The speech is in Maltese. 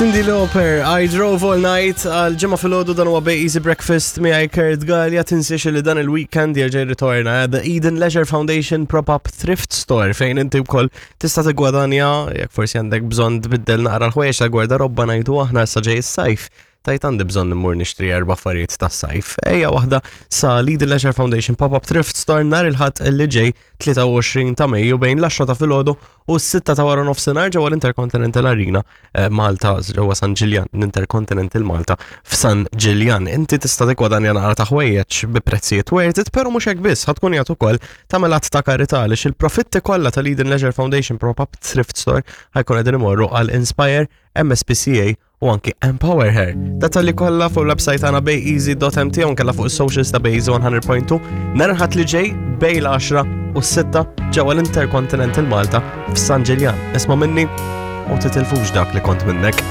Cyndi Lauper, I Drove All Night, għal ġimgħa filgħodu dan huwa Bay Easy Breakfast miegħi Kurt Gallia tinsiex li dan il-weekend jerġa' jirritorna eh, The Eden Leisure Foundation Prop-Up Thrift Store fejn inti wkoll tista' tiggwadanja jekk forsi għandek bżonn tbiddel naqra l-ħwejjeġ ta' gwardarobba ngħidu aħna issa ġej is-sajf. Tajt għandi bżonn immur nixtri erba' affarijiet tas-sajf. Ejja waħda sa Lead Leisure Foundation Pop-Up Thrift Store nhar il-Ħadd li ġej 23 ta' Mejju bejn l-10 ta' filgħodu u s-6 ta' wara nofsinhar ġewwa l-Intercontinental Arena eh, Malta ġewwa San Ġiljan, l-Intercontinental Malta f'San Ġiljan. Inti tista' tiggwadanja naqra ta' ħwejjeġ bi prezzijiet worth it, però mhux hekk biss, ħa tkun qiegħed ukoll tagħmel att ta' karità għaliex il-profitti kollha tal-Eden Leisure Foundation Pop-Up Thrift Store ħajkun qegħdin imorru għal Inspire, MSPCA u anki Empower Her. Dettalji kollha fuq il-website tagħna bayeasy.mt u nkella fuq is-socials ta' Bayeasy 100.2 nhar il-Ħadd li ġej bej l-10 u s-6 ġewwa l-Intercontinental Malta f'San Ġiljan. Isma' minni u titilfux dak li kont minnek.